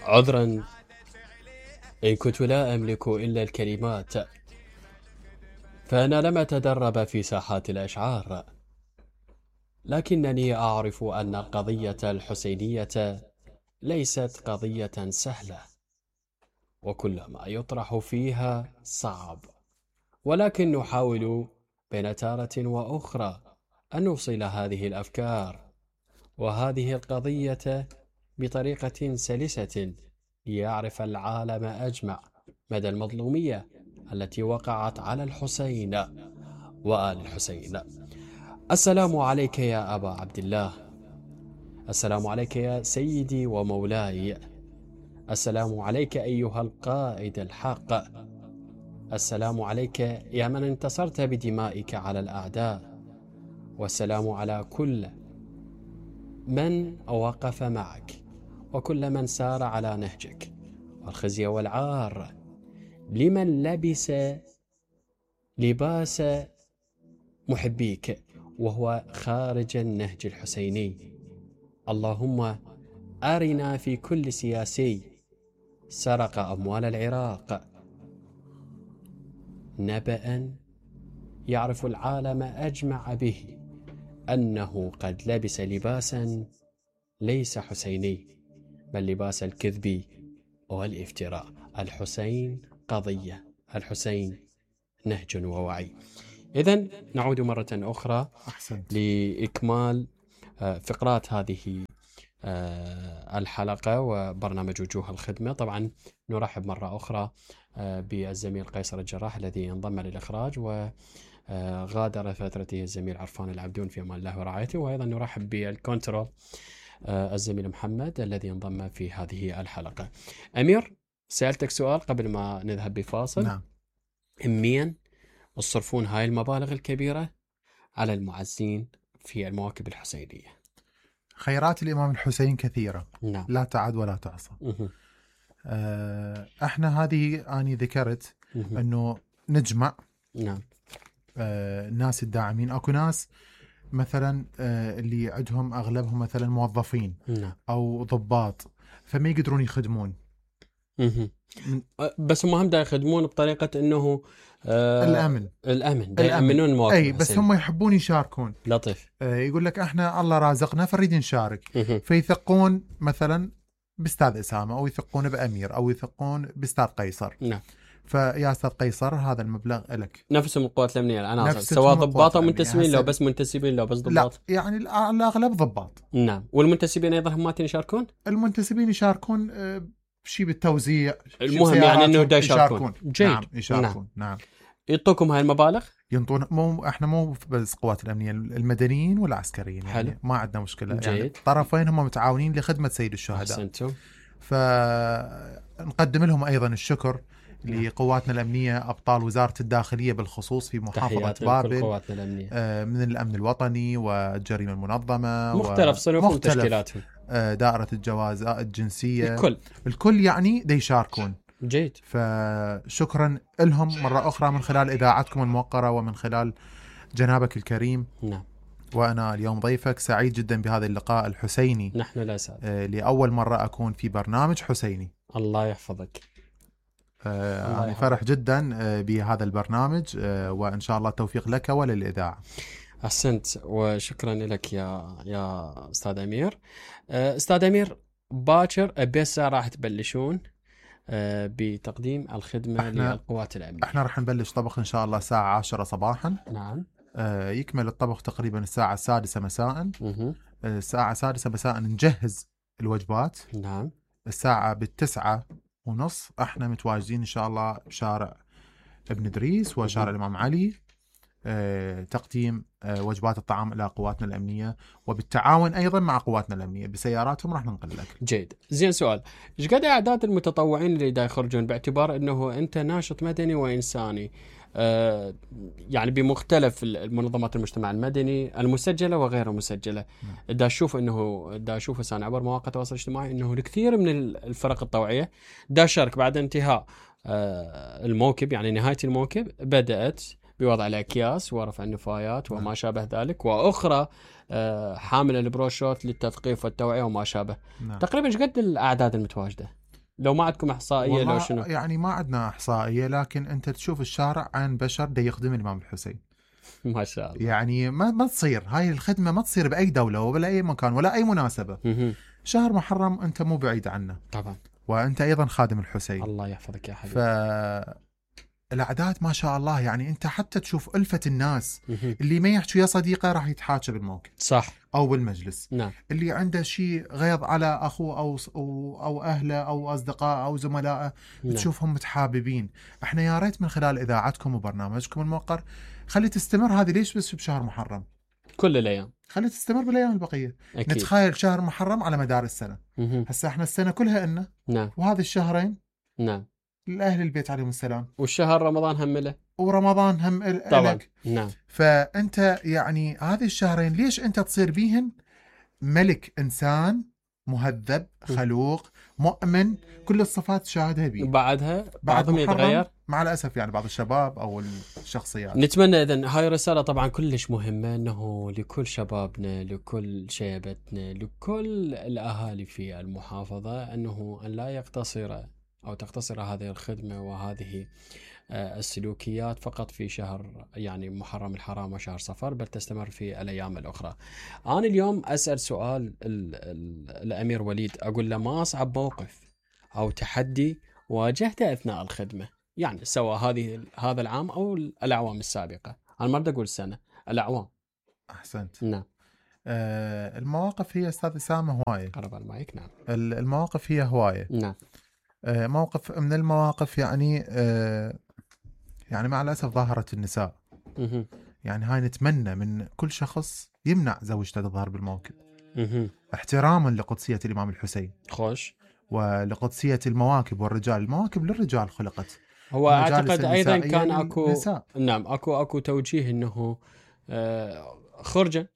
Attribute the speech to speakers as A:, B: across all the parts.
A: عذرا إن كنت لا أملك إلا الكلمات، فأنا لم أتدرب في ساحات الأشعار، لكنني أعرف أن القضية الحسينية ليست قضية سهلة، وكل ما يطرح فيها صعب، ولكن نحاول بين تارة وأخرى أن نوصل هذه الأفكار وهذه القضية بطريقة سلسة ليعرف العالم أجمع مدى المظلومية التي وقعت على الحسين وآل الحسين. السلام عليك يا أبا عبد الله، السلام عليك يا سيدي ومولاي، السلام عليك أيها القائد الحق، السلام عليك يا من انتصرت بدمائك على الأعداء، والسلام على كل من وقف معك وكل من سار على نهجك، والخزي والعار لمن لبس لباس محبيك وهو خارج النهج الحسيني. اللهم أرنا في كل سياسي سرق أموال العراق نبأ يعرف العالم أجمع به أنه قد لبس لباسا ليس حسيني، بل لباس الكذب والافتراء. الحسين قضية، الحسين نهج ووعي. إذن نعود مرة أخرى لإكمال فقرات هذه الحلقة وبرنامج وجوه الخدمة. طبعا نرحب مرة أخرى بالزميل قيصر الجراح الذي انضم للإخراج وغادر فترته الزميل عرفان العبدون في أمان الله ورعايته، وأيضا نرحب بالكنترول الزميل محمد الذي انضم في هذه الحلقة. أمير، سألتك سؤال قبل ما نذهب بفاصل.
B: نعم.
A: هميا تصرفون هاي المبالغ الكبيرة على المعزين في المواكب الحسينية؟
B: خيرات الإمام الحسين كثيرة،
A: نعم.
B: لا تعد ولا تحصى. احنا هذه أني ذكرت أنه نجمع
A: نعم
B: الناس الداعمين. أكو ناس مثلا اللي عندهم أغلبهم مثلا موظفين
A: نعم.
B: أو ضباط، فما يقدرون يخدمون.
A: بس هم دا يخدمون بطريقة أنه الأمن دا يأمنون المواقف.
B: أي بس هم يحبون يشاركون.
A: لطيف.
B: يقول لك احنا الله رازقنا فنريد نشارك. فيثقون مثلا باستاذ أسامة، أو يثقون بأمير، أو يثقون باستاذ قيصر.
A: نعم.
B: فيا استاذ قيصر هذا المبلغ لك.
A: نفسهم القوات الأمنية العناصر، سواء ضباط أو منتسبين، لو بس منتسبين لو بس ضباط.
B: لا يعني الأغلب ضباط.
A: نعم. والمنتسبين أيضا هم يشاركون.
B: المنتسبين يشاركون شيء بالتوزيع.
A: المهم يعني انه دا يشاركون. جيد.
B: نعم يشاركون. نعم.
A: يعطوكم هاي المبالغ؟
B: ينطون. احنا مو بس قوات الامنيه، المدنيين والعسكريين يعني.
A: حلو.
B: ما عندنا مشكله.
A: جيد.
B: يعني الطرفين هم متعاونين لخدمه سيد الشهداء.
A: احسنتم.
B: فنقدم لهم ايضا الشكر لقواتنا الامنيه، ابطال وزاره الداخليه بالخصوص في محافظه بابل،
A: قواتنا الامنيه
B: من الامن الوطني والجريمه المنظمه،
A: مختلف صنوفهم وتشكيلاتهم،
B: دائره الجوازات الجنسيه،
A: الكل
B: يعني دا يشاركون.
A: جيد.
B: فشكرا لهم مرة أخرى من خلال إذاعتكم الموقرة ومن خلال جنابك الكريم.
A: نعم.
B: وأنا اليوم ضيفك، سعيد جدا بهذا اللقاء الحسيني.
A: نحن لا سعد.
B: لأول مرة أكون في برنامج حسيني.
A: الله يحفظك.
B: أنا فرح جدا بهذا البرنامج، وإن شاء الله التوفيق لك وللإذاعة.
A: أحسنت وشكرا لك يا أستاذ أمير. أستاذ أمير، باكر بس راح تبلشون بتقديم الخدمة للقوات الأمنية؟
B: احنا راح نبلش طبخ إن شاء الله الساعة 10 صباحا.
A: نعم.
B: يكمل الطبخ تقريبا الساعة 6 مساء. الساعة 6 مساء نجهز الوجبات.
A: نعم.
B: الساعة 9:30 احنا متواجدين إن شاء الله بشارع ابن إدريس وشارع الإمام علي، تقديم وجبات الطعام إلى قواتنا الأمنية، وبالتعاون أيضا مع قواتنا الأمنية بسياراتهم راح ننقل لك.
A: جيد. زين، سؤال، إيش قد أعداد المتطوعين اللي دا يخرجون، باعتبار أنه أنت ناشط مدني وإنساني، يعني بمختلف المنظمات المجتمع المدني المسجلة وغير المسجلة. دا أشوف أنا عبر مواقع التواصل الاجتماعي أنه الكثير من الفرق الطوعية دا شارك بعد انتهاء الموكب، يعني نهاية الموكب بدأت بوضع الأكياس ورفع النفايات وما
B: نعم.
A: شابه ذلك، وأخرى حامل البروشوت للتثقيف والتوعية وما شابه.
B: نعم.
A: تقريبا ايش قد الأعداد المتواجدة؟ لو ما عندكم إحصائية لو
B: والله
A: شنو؟
B: يعني ما عندنا إحصائية، لكن أنت تشوف الشارع عن بشر دا يخدم الإمام الحسين.
A: ما شاء الله.
B: يعني ما تصير هاي الخدمة، ما تصير بأي دولة ولا أي مكان ولا أي مناسبة. شهر محرم أنت مو بعيد عنه
A: طبعا،
B: وأنت أيضا خادم الحسين.
A: الله يحفظك يا حبيبي.
B: فالأعداد ما شاء الله، يعني أنت حتى تشوف ألفة الناس اللي ما يحكي يا صديقه راح يتحاكى بالموقف
A: صح
B: أو بالمجلس.
A: نعم.
B: اللي عنده شيء غيظ على أخوه أو أهله أو أصدقائه أو زملائه بتشوفهم متحاببين. احنا يا ريت من خلال إذاعتكم وبرنامجكم الموقر خلي تستمر هذه. ليش بس بشهر محرم؟
A: كل الأيام
B: خلي تستمر بالأيام البقية.
A: أكيد.
B: نتخيل شهر محرم على مدار السنة. هسا احنا السنة كلها إلنا.
A: نعم.
B: وهذه الشهرين
A: نعم.
B: لأهل البيت عليهم السلام.
A: والشهر رمضان هم له.
B: ورمضان هم
A: طبعا.
B: لك.
A: نعم.
B: فأنت يعني هذه الشهرين ليش أنت تصير بيهن ملك إنسان مهذب خلوق مؤمن، كل الصفات تشاهدها بيه.
A: بعدها
B: بعد
A: بعضهم يتغير
B: مع الأسف، يعني بعض الشباب أو الشخصيات.
A: نتمنى إذن هاي رسالة طبعا كلش مهمة، أنه لكل شبابنا، لكل شيبتنا، لكل الأهالي في المحافظة، أنه أن لا يقتصر أو تقتصر هذه الخدمة وهذه السلوكيات فقط في شهر يعني محرم الحرام وشهر صفر، بل تستمر في الأيام الأخرى. أنا اليوم أسأل سؤال الأمير وليد، أقول له ما أصعب موقف أو تحدي واجهته أثناء الخدمة، يعني سواء هذا العام أو الأعوام السابقة؟ أنا ما بدي أقول سنة، الأعوام.
B: أحسنت.
A: نعم.
B: المواقف هي أستاذ أسامة هواية.
A: قرب المايك. نعم.
B: المواقف هي هواية.
A: نعم.
B: موقف من المواقف يعني مع الأسف ظاهرة النساء. يعني هاي نتمنى من كل شخص يمنع زوجته تظهر بالموكب، احتراما لقدسية الإمام الحسين.
A: خوش.
B: ولقدسية المواكب والرجال. المواكب للرجال خلقت.
A: هو أعتقد أيضا كان أكو
B: للنساء.
A: نعم أكو توجيه أنه خرجا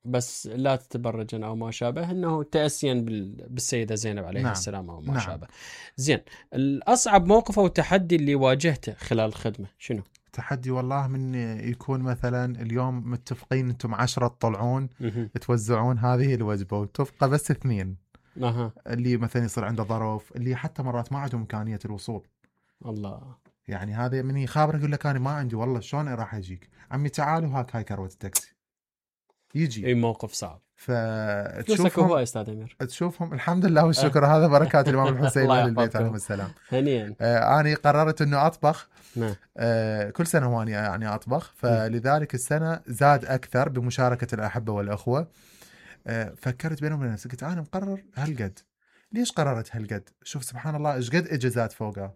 A: بس لا تتبرجن أو ما شابه، أنه تأسيا بالسيدة زينب عليه
B: نعم.
A: السلام أو ما شابه. زين، الأصعب موقف أو التحدي اللي واجهته خلال الخدمة شنو؟
B: تحدي والله من يكون مثلا اليوم متفقين أنتم 10 تطلعون توزعون هذه الوجبة وتبقى بس 2. اللي مثلا يصير عنده ظرف، اللي حتى مرات ما عندهم إمكانية الوصول.
A: الله. يعني
B: هذا من يخابر يقول لك أنا ما عندي، والله شلون راح أجيك عمي؟ تعالوا هاي كروة التاكسي يجي.
A: اي موقف صعب.
B: فتشوفهم
A: هو استاذ امير،
B: تشوفهم الحمد لله والشكر. هذا بركات الامام الحسين واهل البيت عليهم السلام.
A: هنيئا.
B: انا قررت انه اطبخ.
A: نعم.
B: كل سنه واني يعني اطبخ، فلذلك السنه زاد اكثر بمشاركه الاحبه والاخوه. فكرت بينهم وبين نفسي، قلت انا مقرر هالقد. ليش قررت هالقد؟ شوف سبحان الله ايش قد اجازات فوقها.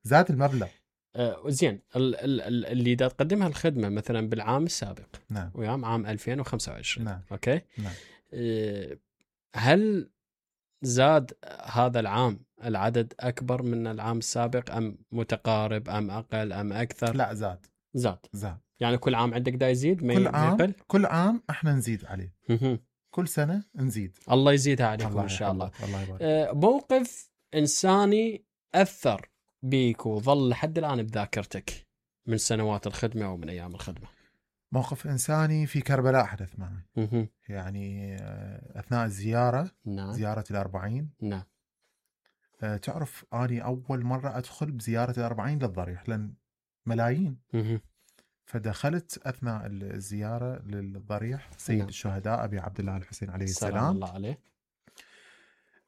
B: زاد المبلغ.
A: زين، اللي دا تقدمها الخدمة مثلا بالعام السابق.
B: نعم.
A: ويام عام 2025.
B: نعم.
A: اوكي.
B: نعم.
A: هل زاد هذا العام العدد اكبر من العام السابق، ام متقارب، ام اقل، ام اكثر؟
B: لا زاد.
A: يعني كل عام عندك دا يزيد؟
B: كل عام احنا نزيد عليه. كل سنة نزيد.
A: الله يزيدها عليكم ان شاء الله.
B: الله يبارك.
A: موقف انساني اثر بيك وظل لحد الآن بذاكرتك من سنوات الخدمة ومن أيام الخدمة؟
B: موقف إنساني في كربلاء حدث معي. يعني أثناء الزيارة.
A: نعم.
B: زيارة 40.
A: نعم.
B: تعرف أنا أول مرة أدخل بزيارة 40 للضريح، لأن ملايين. فدخلت أثناء الزيارة للضريح سيد
A: نعم.
B: الشهداء أبي عبد الله الحسين عليه
A: السلام. الله عليه.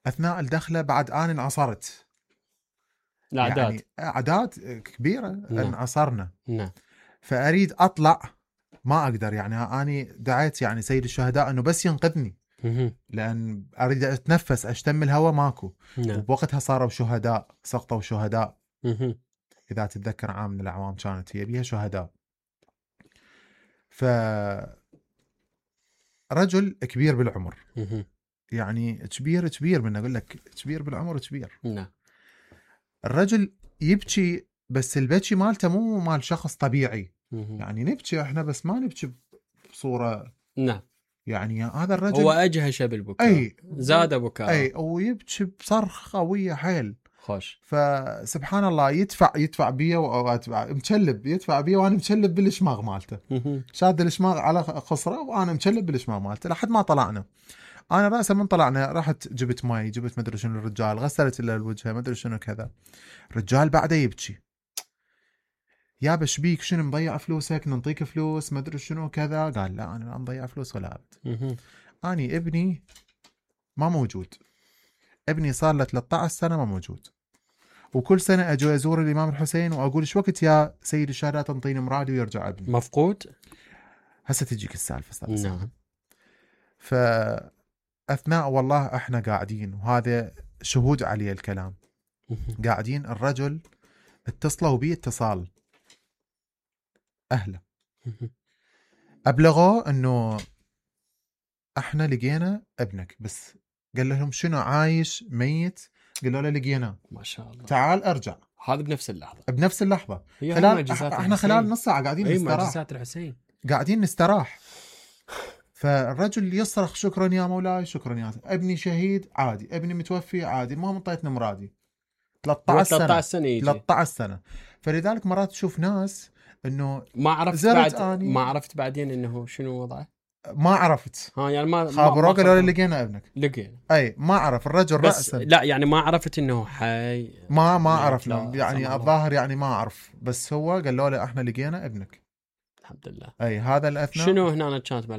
B: أثناء الدخلة بعد أنا انعصرت. يعني أعداد كبيرة.
A: نعم.
B: انعصرنا.
A: نعم.
B: فأريد أطلع ما أقدر. يعني أنا دعيت يعني سيد الشهداء أنه بس ينقذني، لأن أريد أتنفس أشتم الهواء ماكو.
A: نعم.
B: وبوقتها صاروا شهداء، سقطوا شهداء. إذا تتذكر عام من الأعوام كانت هي بيها شهداء. فرجل كبير بالعمر. يعني كبير من أقول لك كبير بالعمر كبير.
A: نعم.
B: الرجل يبكي، بس البكي مالته مو مال شخص طبيعي. يعني نبكي احنا بس ما نبكي بصورة.
A: نعم.
B: يعني هذا الرجل
A: هو أجهش بالبكاء.
B: أي
A: زاد بكاء.
B: أي ويبكي بصرخة قوية حيل.
A: خوش.
B: فسبحان الله يدفع بي مشلب، يدفع بي وانا مشلب بالشماغ مالته، شاد الشماغ على خصره وانا مشلب بالشماغ مالته لحد ما طلعنا. انا راسا من طلعنا رحت جبت ماي، جبت مدري شنو، الرجال غسلت له الوجه مدري شنو كذا. الرجال بعده يبكي، يا بشبيك شنو مضيع فلوسك، ننطيك فلوس مدري شنو كذا. قال لا انا ما مضيع فلوس ولا ابد. اني ابني ما موجود، ابني صار له 13 سنه ما موجود، وكل سنه اجي ازور الامام الحسين واقول ايش وقت يا سيد الشهداء تنطيني مرادي ويرجع ابني
A: مفقود.
B: هسه تجيك السالفه.
A: نعم.
B: فاثناء والله احنا قاعدين، وهذا شهود علي الكلام، قاعدين الرجل اتصلوا بي اتصال اهله، ابلغوا انه احنا لقينا ابنك، بس قال لهم شنو عايش ميت؟ قالوا له لقيناه.
A: ما شاء الله.
B: تعال ارجع.
A: هذا بنفس اللحظه.
B: بنفس اللحظه. احنا خلال نص ساعه قاعدين نستراح.
A: معجزات الحسين.
B: قاعدين نستراح. فالرجل يصرخ شكرا يا مولاي، شكرا يا ابني شهيد عادي، ابني متوفي عادي، المهم انطيتنا مرادي. 13 سنه يجي. 13 سنه. فلذلك مرات تشوف ناس انه
A: ما عرفت ما عرفت بعدين انه شنو وضعه.
B: ما عرفت.
A: يعني ما
B: خابروه قالوا لي لقينا ابنك.
A: لقينا.
B: اي ما عرف الرجل رأسا.
A: لا يعني ما عرفت انه حي.
B: ما عرفنا يعني الظاهر يعني ما اعرف، بس هو قالوا لي احنا لقينا ابنك.
A: الحمد لله.
B: اي هذا الاثناء.
A: شنو هنا كانت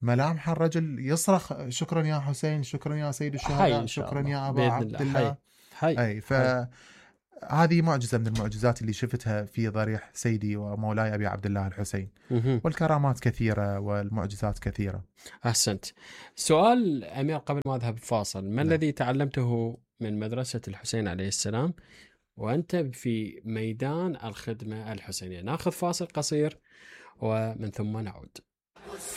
A: ملامحه
B: الرجل يصرخ شكرا يا حسين، شكرا يا سيد الشهداء، شكرا يا ابا عبد الله.
A: حي.
B: اي هذه معجزة من المعجزات اللي شفتها في ضريح سيدي ومولاي أبي عبد الله الحسين. والكرامات كثيرة والمعجزات كثيرة.
A: أحسنت. سؤال أمير قبل ما أذهب فاصل، ما الذي تعلمته من مدرسة الحسين عليه السلام وأنت في ميدان الخدمة الحسينية؟ ناخذ فاصل قصير ومن ثم نعود.